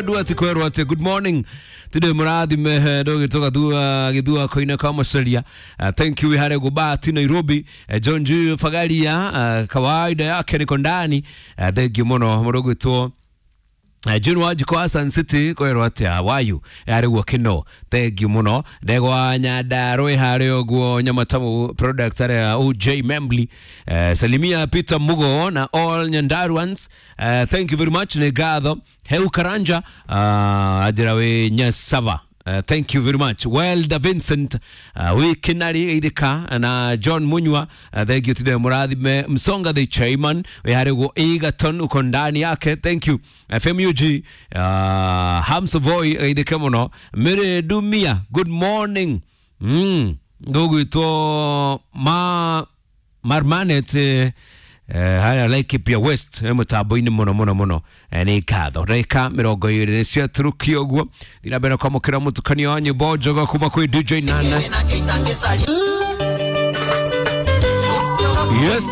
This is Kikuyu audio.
Duati kwerwo ati good morning today murathime ndũgĩtũka thua gĩthua koine kwa Maceria. Thank you wihare gubati Nairobi. John G Fagaria, kawaida yake niko ndani. Thank you muno mũrũgwĩtwo June Wanjikũ wa Sun City kwĩrwo atĩa wayu arĩ guo kĩno thank you mũno ndegwa Nyandarũa harĩ ũguo Nyamatamu product arĩa OJ Membly. Salimia Peter Mugo na all Nyandaruans. Thank you very much nĩ ngatho Heu Karanja, anjĩra wĩ Nyasava. Thank you very much. Well, da Vincent, wi Kinari Idika na John Munywa, thank you today Murathime Msonga the chairman, we harego Egerton uko ndani yake. Thank you. FMUG, Hamsa Boy Idika muno. Mire Dumia, good morning. Ndugu ito ma Marmanet haya Laikipia West, mũtambo-inĩ mũno mũno mũno. Nĩ ngatho ndagĩka 20 ciaturũkio ũguo thina mbere kwamũkĩra mũtukanio wa nyĩmbo njega kuma kwĩ DJ Nana. Yes.